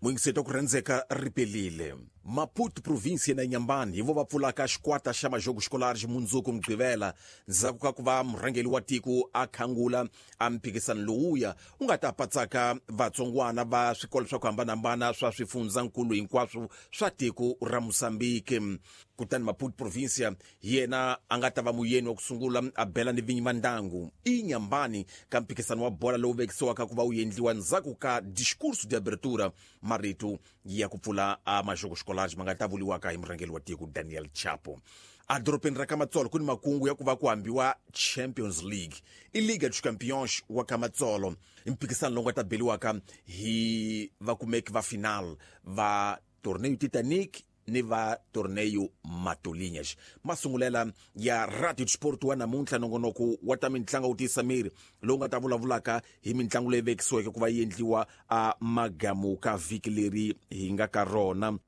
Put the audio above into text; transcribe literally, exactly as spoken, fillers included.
Muyingiseti wa ku rhandzeka, ripelile Maputo province na Nyambani hi vo va pfulaka xikwata xa Majogo Escolares mundzuku Mugqivela, ndzhaku ka ku va murhangeri wa tiko a khangula a mphikisano lowuya wu nga ta patsaka vatsongwana va swikolo swa ku hambanahambana swa swifundzankulu hinkwaswo swa tiko ra Mosambiki. Kutani Maputo provincia hi yena a nga ta va muyeni wa ku sungula a bela ni vinyi va ndangu i Nyambani ka mphikisano wa bola lowu vekisiwaka ku va wu endliwa ndzhaku ka discurso de abertura, marito ya ku pfula a Majogo Escolares ma nga ta vuriwaka hi murhangeri wa tiko Daniel Chapo. Edorobeni ra Kamatsolo ku ni makungu ya ku va ku hambiwa Champions League, i Liga dos Campeões wa Kamatsolo, i mphikisano lowu nga ta beliwaka hi vakumeki va final va Torneio Titanic ni va Torneio Matolinhas. Masungulela ya Radio Sport wa namuntlha, nongonoko wa ta mitlangu wu tiyisa miri lowu nga ta vulavulaka hi mitlangu leyi vekisiweke ku va yi endliwa a magamu ka vhiki leri hi nga ka rona.